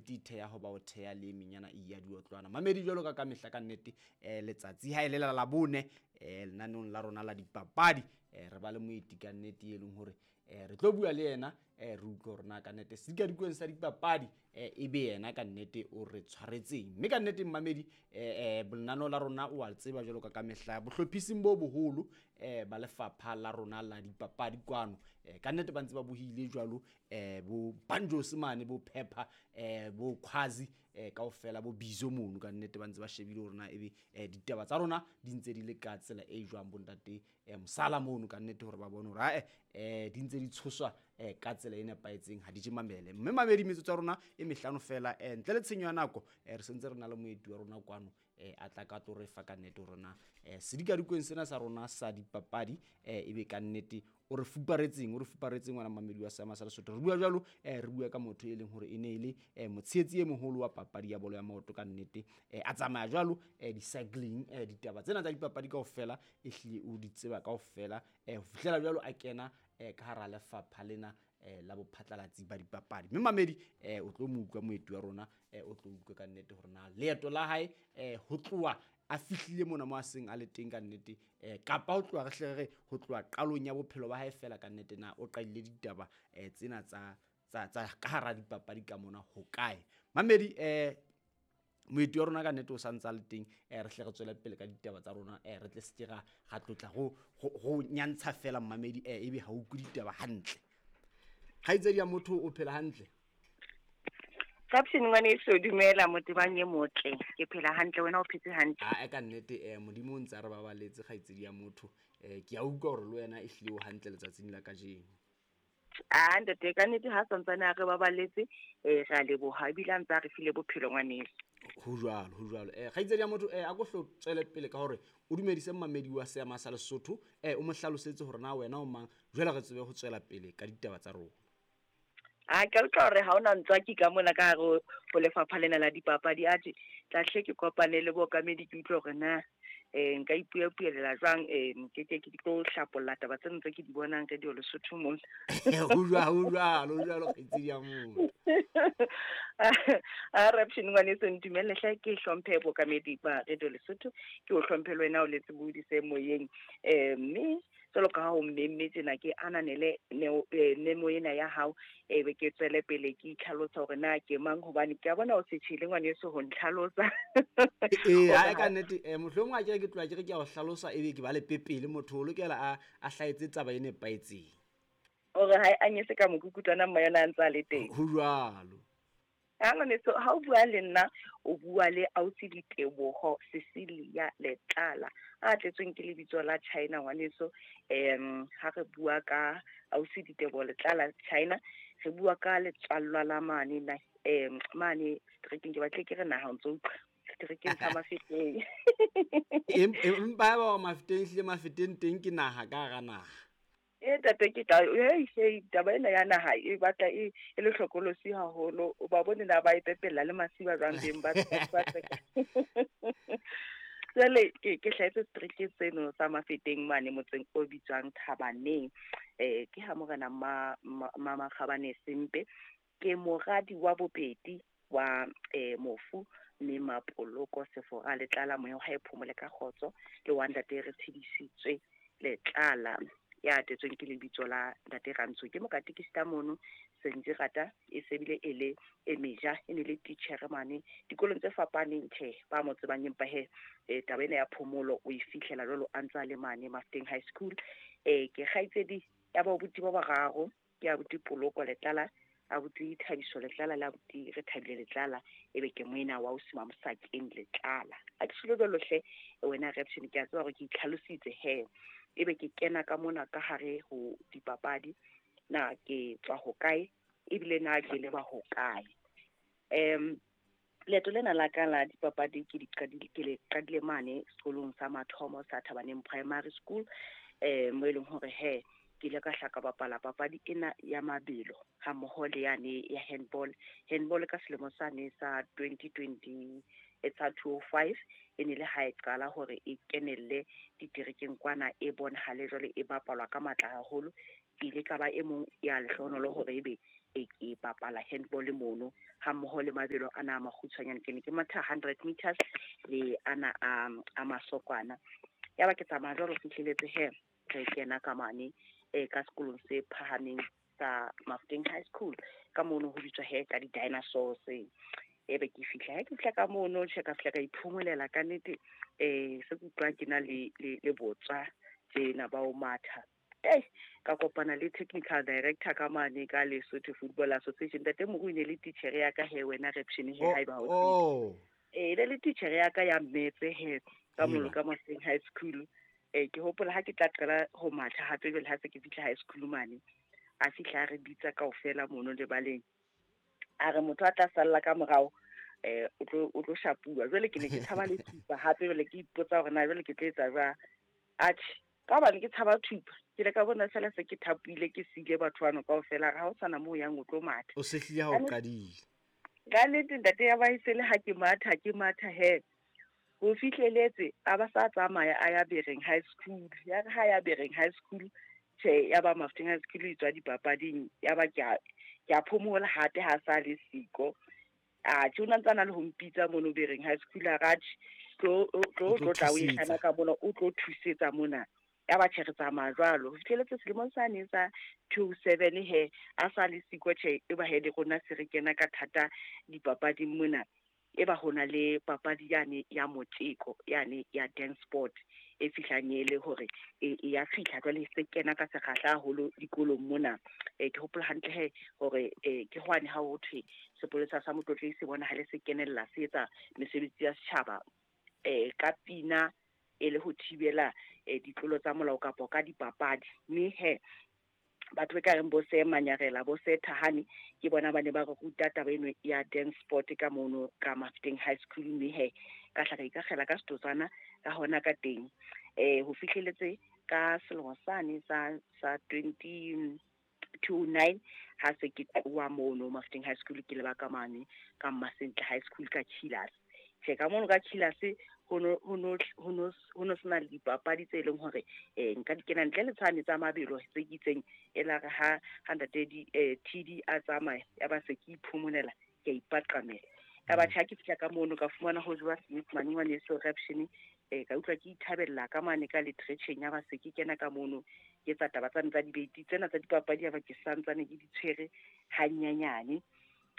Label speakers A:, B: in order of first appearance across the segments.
A: City e theha ho ba o theha le e menyana e ya diotlwana. Mamedi jwalo ka ka mehla ka nnete letsatsi ha e le la Labone lenaneong la rona la dipapadi re ba le moeti ka nnete e leng hore re tlo bua le yena re utlwe hore na ka nnete sedikadikweng sa dipapadi e be yena ka nnete o re tshwaretseng. Mme ka nnete mmamedi lenaneo la rona o a tseba jwalo ka ka mehla bohlophising bo boholo ba lefapha la rona la dipapadi kwano ka nnete ba ntse ba bohile jwalo bo Banjos mane bo Pepper bo Khwazi kaofela bo Bizo mono ka nnete ba ntse ba shebile hore na ebe ditaba tsa rona di ntse di le ka tsela e jwang bontate Mosala mono ka nnete hore ba bone hore ae di ntse di tshoswa ka tsela e nepahetseng ha di je mamele. Mme mamedi metsotso ya rona e mehlano fela ntle le tshenyo ya nako re sentse re na le moeti wa rona kwano a tla ka tlo re fa ka nnete hore na sedikadikweng sena sa rona sa dipapadi ebe ka nnete o re fuparetseng, o re fuparetseng ngwana mamedi wa Seama sa Lesotho. Re bua jwalo re bua ka motho e leng hore e ne e le motshehetsi e moholo wa papadi ya bolo ya maoto ka nnete a tsamaya jwalo di-cycling ditaba tsena tsa dipapadi kaofela e hlile o di tseba kaofela ho fihlela jwalo a kena ka hara lefapha lena la bophatlalatsi ba dipapadi. Mme mamedi o tlo mo utlwa moeti wa rona o tlo utlwa ka nnete hore na leeto la hae ho tloha a fihlile mona mo a seng a le teng ka nnete kapa ho tloha re hle re ho tloha qalong ya bophelo ba hae fela ka nnete na o qadile ditaba tsena tsa tsa ka hara dipapadi ka mona ho kae. Mamedi moeti wa rona ka nnete o santse a le teng re hle re tswele pele ka ditaba tsa rona re tle seke ra tlotla go nyantsha fela mmamedi ebe ha o utlwe ditaba hantle. Kgaitsedi ya motho o phela hantle?
B: Caption ngwaneso, dumela motebang e motle. Ke phela hantle, wena o phetse hantle?
A: A ka nnete Modimo o ntse a re babaletse kgaitsedi ya motho. Ke a utlwa hore le wena e hlile o hantle letsatsing la kajeno.
B: A ntate ka nnete ha santsane a re babaletse re a leboha ebile a ntse a re file bophelo ngwaneso.
A: Ho jwalo, ho jwalo. Kgaitsedi ya motho a ko hlo tswele pele ka hore o dumedise mmamedi wa Seama sa Lesotho o mo hlalosetse hore na wena o mang jwale re tsebe ho tswela pele ka ditaba tsa rona.
B: A ke utlwa hore ha ona ntswaki ka mona ka hare ho lefapha lena la dipapadi atjhe tla hle ke kopane le bookamedi ke utlwe hore na nka ipuapuelela jwang ke ke ke tlo hlapolla taba tseno tse ke di bonang Radio Lesotho mona.
A: Ho jwalo, ho jwalo, ho jwalo kgaitsedi ya motho.
B: A Raption ngwaneso ntumelle hle ke hlomphe bookamedi ba Radio Lesotho ke o hlomphe le wena o letse bodise moyeng mme jwalo ka ha o mmemme tjena ke ananele memo ena ya hao ebe ke tswele pele ke itlhalosa hore na ke mang hobane ke a bona o se tjhele ngwaneso ho ntlhalosa.
A: Ee ha ka nnete mohlomong a kere ke tloha ke re ke a o hlalosa ebe ke ba le pepele motho o lokela a hlahetse taba e nepahetseng.
B: Hore ha e anyese ka mokukutwana mma yona a ntse a le teng.
A: Ho jwalo.
B: Ha ngwaneso ha o bua le nna o bua le ausi Diteboho Cecilia Letlala a tletsweng ke lebitso la China ngwaneso. Ha re bua ka ausi Diteboho Letlala China re bua ka letswallwa la mane na mane streeteng ke batle ke re naha o ntso utlwa streeteng sa Mafeteng.
A: Empa ba Mafeteng hlile Mafeteng teng ke naha ka hara naha.
B: E tate ke tla hey taba ena ya naha e batla e le hlokolosi haholo o ba bone na ba e pepella le masiba jwang beng ba ba. Jwale ke hlahetse street seno sa Mafeteng mane motseng o bitswang Thabaneng. Ke ha morena Makgabane Sempe ke moradi wa bobedi wa mofu mme Mapoloko Sefora Letlala moya wa hae phomole ka kgotso le wa ntate re tshedisitswe Letlala ya tetsweng ke lebitso la ntate Rantsho ke mokatekista mono Sentse rata e sebile e le e meja e ne le teacher mane dikolong tse fapaneng tjhe ba mo tsebang empa he taba ena ya phomolo o e fihlela jwalo a ntse a le mane Mafeteng High School. Ke kgaitsedi ya babuti ba bararo ke abuti Poloko Letlala abuti Thabiso Letlala le abuti Re Thabile Letlala ebe ke moena wa ausi Mamosakeng Letlala. A ke tshilo jwalo hle wena Raption ke a tseba hore ke itlhalositse he ebe ke kena ka mona ka hare ho dipapadi na ke tswa ho kae ebile na ke leba ho kae. Leeto lena la ka la dipapadi ke di qadile ke le qadile mane sekolong sa mathomo sa Thabaneng Primary School mo e leng hore he ke ile ka hlaka bapala papadi ena ya mabelo ha mmoho le yane ya handball. Handball ka selemo sane sa 2020 etsa 205 e ne le ha e qala hore e kenelle diterekeng kwana e bonahale jwale e bapalwa ka matla haholo. Ke ile ka ba e mong ya lehlohonolo hore ebe Ke bapala handball mono ha mmoho le mabelo ana a makgutshwanyane. Ke ne ke matha 100 meters le ana a masokwana. Ya ba ke tsamaya jwalo fihleletse he re kena ka mane ka sekolong se phahameng sa Mafeteng High School, ka mono ho bitswa he ka di-dinosaurs. Ebe ke fihla, ha ke fihla ka mono, tjhe, ka fihla ka iphomolela ka nnete. Se ke utlwa ke na le botswa tjena ba o matha. Ka kopana le technical director ka mane ka Lesotho Football Association, Ntate Moru, ne le titjhere ya ka he, wena Reption, he haeba o ne le titjhere ya ka ya mmetse he ka mono ka Mafeteng High School. Ke hopola ha ke tla qala ho matha hape jwale ha se ke fihla high school mane, a fihla a re bitsa kaofela mono lebaleng, a re motho a tla salla ka morao o tlo shapuwa. Jwale ke ne ke tshaba le thupa hape, jwale ke ipotsa hore na jwale ke tlo etsa jwang. Atjhe, ka hobane ke tshaba thupa, ke le ka bona fela se ke thapile, ke siile batho bano kaofela, ha o sana moo yang o tlo matha.
A: O sehlile ha o qadile.
B: Ka nnete ntate, ya ba e se le ha ke matha, ke matha he ho fihleletse a ba sa tsamaya a ya Bereng High School. Ya re ha ya Bereng High School, tjhe, ya ba Mafeteng High School e tswa dipapading, ya ba ke a phomola hape ha sa le siko. Atjhe, o na ntse a na le ho mpitsa mono Bereng High School, a re atjhe, tlo tlo tla o ikgana ka mona, o tlo thusetsa mona. Ya ba tjhe, re tsamaya jwalo ho fihleletse selemong sane sa 27 he a sa le siko. Tjhe, e ba he le rona se re kena ka thata dipapading mona. E ba hona le papadi yane ya motjeko yane ya dance sport e fihlang e le hore e ya fihla jwale se kena ka sekgahla haholo dikolong mona. Ke hopola hantle he hore ke hwane ha ho thwe sepolesa sa Motlotlei se bonahale se kenella, se etsa mesebetsi ya setjhaba ka pina e le ho thibela ditlolo tsa molao kapa ka dipapadi. Mme he batho ba ka reng bo se Manyarela, bo se Thahane, ke bona ba ne ba re ruta taba eno ya dance sport ka mono ka Mafeteng High School. Mme he ka hla ka ikakgela ka setotswana ka hona ka teng. Ho fihleletse ka selemo sane sa 2029 ha se ke tloha mono Mafeteng High School, ke leba ka mane ka Mmasentle High School ka Chillers. Tjhe, ka mono ka Chillers ho no sena le dipapadi tse leng hore nka di kena ntle le tshwane tsa mabelo tse ke itseng. E la re ha ntate TD a tsamaya, ya ba se ke iphomonela, ke a ipaqamela. Ya ba tjhe, ha ke fihla ka mono ka fumana ho jowa Senyesemane ngwaneso Reption. Ka utlwa ke ithabella ka mane ka literature, ya ba se ke kena ka mono ke etsa taba tsane tsa debate tsena tsa dipapadi, ya ba ke santsane ke di tshwere hanyenyane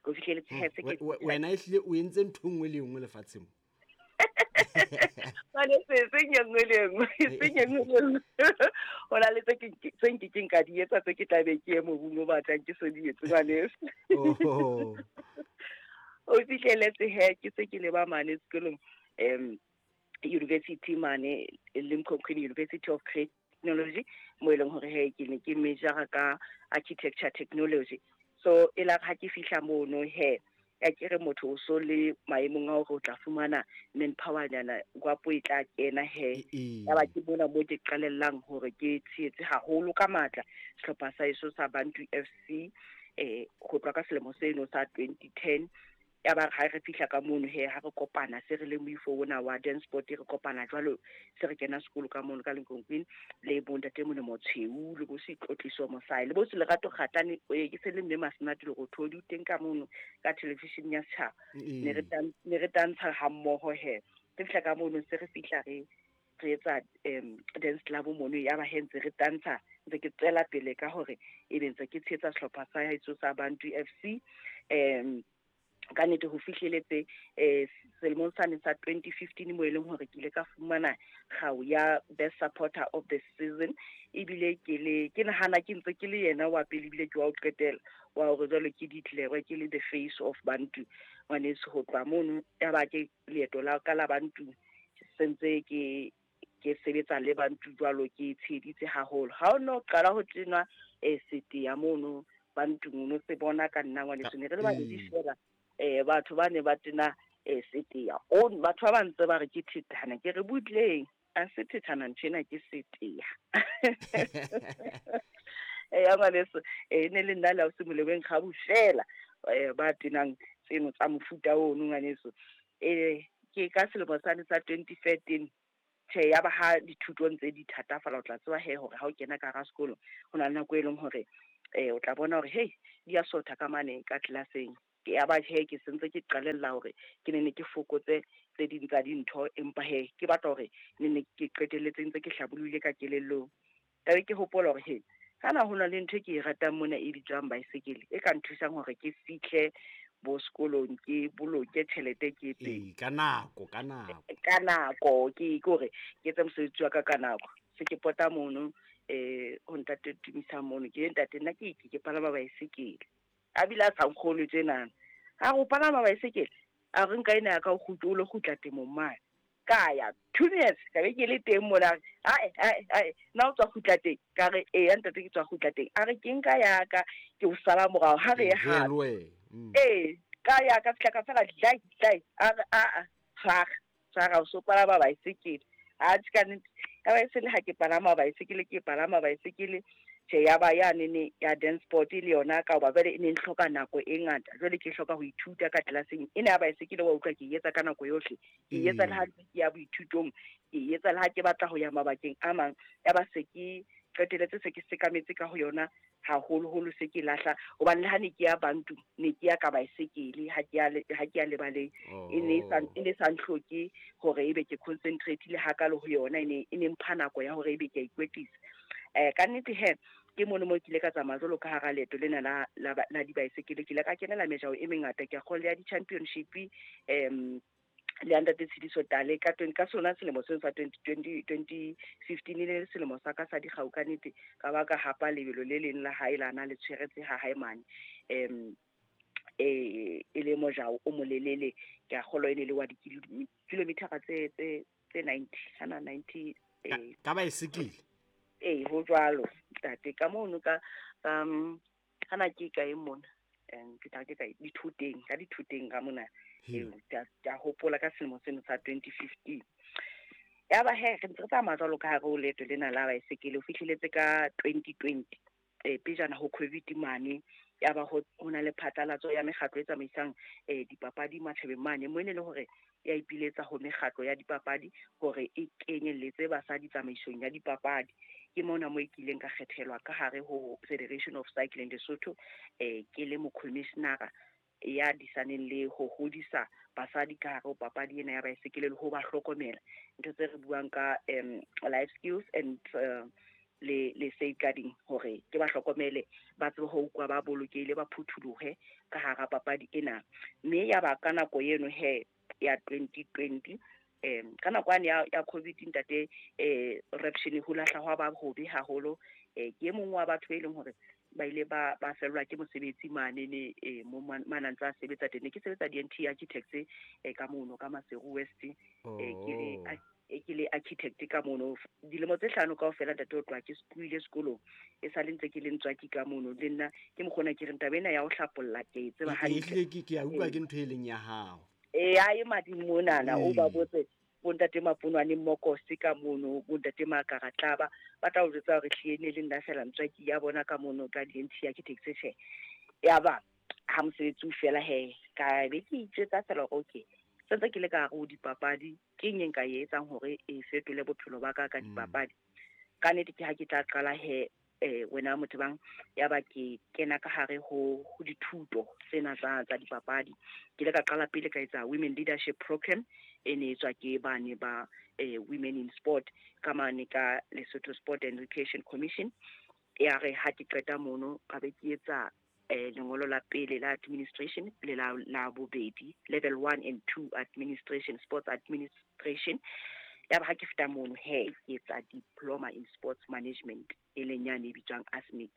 B: ho fihleletse he se ke
A: Wena ehlile o entse ntho nngwe le nngwe lefatsheng.
B: Jwale se seng e nngwe le nngwe, seng e nngwe le nngwe. Ho na le tse nkekeng ka di etsa, tse ke tla be ke ye mobung o batlang ke so di etse ngwaneso. O fihleletse he ke se ke leba mane sekolong university mane Limkokwing University of Creative Technology, mo e leng hore he ke ne ke majora ka architecture technology. So e la ha ke fihla mono he, ya ke re motho o so le maemong a hore o tla fumana manpower nyana gwapo e tla kena he. Ya ba ke bona mo ke qalellang hore ke tshehetse haholo ka matla sehlopha sa eso sa Bantu FC ho tloha ka selemo seno sa 2010. Ya ba ha re fihla ka mono he, ha re kopana se re le moifo ona wa dance sport, re kopana jwalo se re kena sekolo ka mono ka Limkokwing le bo ntate Molemo Tshweu le bo Setlotliso Mosai le bo Lerato Kgatane, ke se le mme Masenate le Rothodi o teng ka mono ka television ya setjhaba. Ne re tantsha ha mmoho he. Re fihla ka mono se re fihla re etsa dance club mono, ya ba he ntse re tantsha, ntse ke tswela pele ka hore ebe ntse ke tshehetsa sehlopha sa heso sa Bantu FC. Ka nnete ho fihleletse selemong sane sa 2015 mo e leng hore ke ile ka fumana kgau ya best supporter of the season, ebile ke le ke nahana ke ntse ke le yena wa pele, ebile ke wa ho qetela wa hore jwale ke declare ke le the face of Bantu ngwaneso. Ho tloha mono ya ba ke leeto la ka la Bantu sentse ke sebetsa le Bantu jwalo, ke tsheheditse haholo. Ha o no qala ho tenwa sete ya mono Bantu no se bona ka nna ngwaneso, ne re le babedi fela. Batho ba ne ba tena seteya o batho ba ntse ba re ke thethana, ke re butleng a se thethana ntshena ke seteya. Ya ngwaneso ne le nna le ausi Molebeng Kgabu fela ba tenang tseno tsa mofuta ono ngwaneso. Ke ka selemo sane sa 2013 tjhe, ya ba ha dithutong tse di thatafala, o tla tseba he hore ha o kena ka hara sekolo ho na le nako e leng hore o tla bona hore hey Di a sotha ka mane ka tlelaseng. Ke ya ba he ke sentse ke qalella hore ke ne ke fokotse tse ding tsa dintho, empa he ke batla hore ne ke qetelletse ntse ke hlabollohile ka kelellong. Ka be ke hopola hore he kana ho na le ntho e ke e ratang mona e bitswang baesekele, e ka nthusang hore ke fihle bo sekolong, ke boloke tjhelete, ke etseng
A: Ka nako, ka nako.
B: Ka nako, ke hore ke etse mosebetsi wa ka ka nako. Se ke pota mono ho ntate Tumisa mono, ke ntate nna ke palama baesekele. A bile a sa nkgolwe tjenana. A re o palama baesekele? A re nka ena ya ka o kgutle, o lo kgutla temong mane. Ka ya 2 minutes ka be ke le teng mona. Ae ae ae, nna o tswa kgutla teng? Ka re eya ntate, ke tswa kgutla teng. A re ke nka ya ka ke o sala morao ha re ye hape. Ee, ka ya ka fihla ka fela dlai dlai. A re a tshwara tshwara, o so palama baesekele. Atjhe ka nnete, ya ba e se le ha ke palama baesekele, ke palama baesekele. Tjhe, ya ba ya nene ya dance sport le yona, ka hoba jwale e ne hloka nako e ngata. Jwale ke hloka ho ithuta ka tlelaseng ena ya baesekele, wa utlwa ke etsa ka nako yohle. Ke etsa le ha ke ya boithutong, ke etsa le ha ke batla ho ya mabakeng a mang. Ya ba se ke qeteletse se ke sekametse ka ho yona haholoholo, se ke lahla. Hobane le ha ne ke ya Bantu, ne ke ya ka baesekele, ha ke ya lebaleng. E ne sa ntlhoke hore ebe ke concentrate-ile hakalo ho yona, e ne mpha nako ya hore ebe ke a ikwetlisa. Ka nnete he, ke mono mo ke ile ka tsamaya jwalo ka hara leeto lena la dibaesekele. Ke ile ka kenela mejao e mengata, ke a kgolwa ya di-championship, le ntate Tshidiso Tale ka ka sona selemo seno sa 2015, e le selemo sa ka sa dikgau ka nnete. Ka ba ka hapa lebelo le leng la hae la na le tshweretse ha hae mane. E le mojao o molelele, ke a kgolwa e ne le wa dikilometara tse 90, hana 90,
A: Ka baesekele?
B: Ee, ho jwalo ntate. Ka mono ka hana ke kae mona? Ke tla ke kae? Dithoteng, ka dithoteng ka mona. Ee, ke a hopola ka selemo seno sa 2015. Ya ba he, re ntse re tsamaya jwalo ka hare ho leeto lena la baesekele, ho fihleletse ka 2020. Pejana ho COVID mane, ya ba ho na le phatlalatso ya mekgatlo e tsamaisang dipapadi matjhabeng mane, mo e ne le hore ya ipiletsa ho mekgatlo ya dipapadi hore e kenyelletse basadi tsamaisong ya dipapadi. Ke mona mo e kileng ka kgethelwa ka hare ho Federation of Cycling Lesotho, ke le mokhomishenara ya disaneng le ho hodisa basadi ka hare ho papadi ena ya baesekele le ho ba hlokomela. Ntho tse re buang ka life skills and le safeguarding, hore ke ba hlokomele, ba tsebe ho utlwa ba bolokehile, ba phutholohe ka hara papadi ena. Mme ya ba ka nako eno he ya 2020, ka nako yane ya COVID ntate, reption ho lahla hwa ba hobe haholo. Ke e mong wa batho e leng hore ba ile ba fellwa ke mosebetsi mane ne mo mana ntse a sebetsa teng. Ne ke sebetsa DNT Architects ka mono ka Maseru West, ke le architect ka mono dilemo tse 5 kaofela ntate, o tloha ke tlohile sekolong e sale ntse ke le ntswaki ka mono. Le nna ke mokgona ke re taba ena ya ho hlapolla ke e tseba hantle.
A: Ke a utlwa ke ntho e leng ya hao.
B: Ee, a e madimo monana, o ba botse bontate Maponwane Mmokosi ka mono, bontate Makaratlaba, ba tla o jwetsa hore hlile ne le nna fela ntswaki ya bona ka mono ka DNT Architects. Tjhe, ya ba ha mosebetsi o fela he, ka be ke itjwetsa fela hore okay, sentse ke le ka hare ho dipapadi, ke eng e nka e etsang hore e fetole bophelo ba ka ka dipapadi. Ka nnete ke ha ke tla qala he, wena motho bang, ya ba ke kena ka hare ho dithuto tsena tsa dipapadi. Ke ile ka qala pele ka etsa Women Leadership Program, e ne etswa ke bane ba Women in Sport ka mane ka Lesotho Sport and Recreation Commission. Ya re ha ke qeta mono, ka be ke etsa lengolo la pele la administration le la bobedi, level 1 and 2 administration, sports administration. Ya ba ha ke feta mono he, ke etsa diploma in sports management, e leng yane e bitswang ASMIC.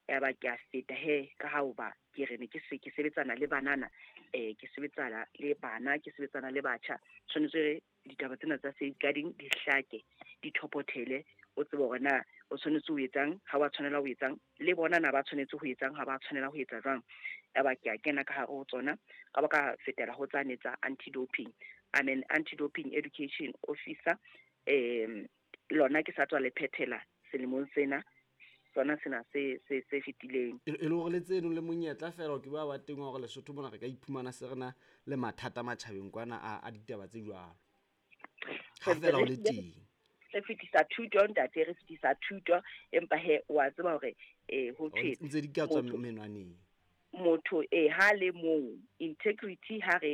B: Ya ba ke a feta he, ka ha hoba ke re ne ke se ke sebetsana le banana, ke sebetsana le bana, ke sebetsana le batjha. Tshwanetse ditaba tsena tsa safeguarding di hlake, di thopothele, o tsebe hore na o tshwanetse ho etsang, ha wa tshwanela ho etsang, le bona na ba tshwanetse ho etsang, ha ba tshwanela ho etsa jwang. Ya ba ke a kena ka hare ho tsona, ka ba ka fetela ho tsane tsa anti-doping. I'm an anti-doping education officer. Lona ke sa tswa le phethela selemong sena, sona sena se fetileng.
A: E le hore le tseno le monyetla fela ke ba teng hore Lesotho mona re ka iphumana se rena le mathata matjhabeng kwana a ditaba tse jwalo. Ha fela o le teng.
B: Re fetisa thuto ntate, re fetisa thuto, empa he wa tseba hore ho thwe
A: ntse di ka tswa menwaneng.
B: Motho ha le mong integrity ha re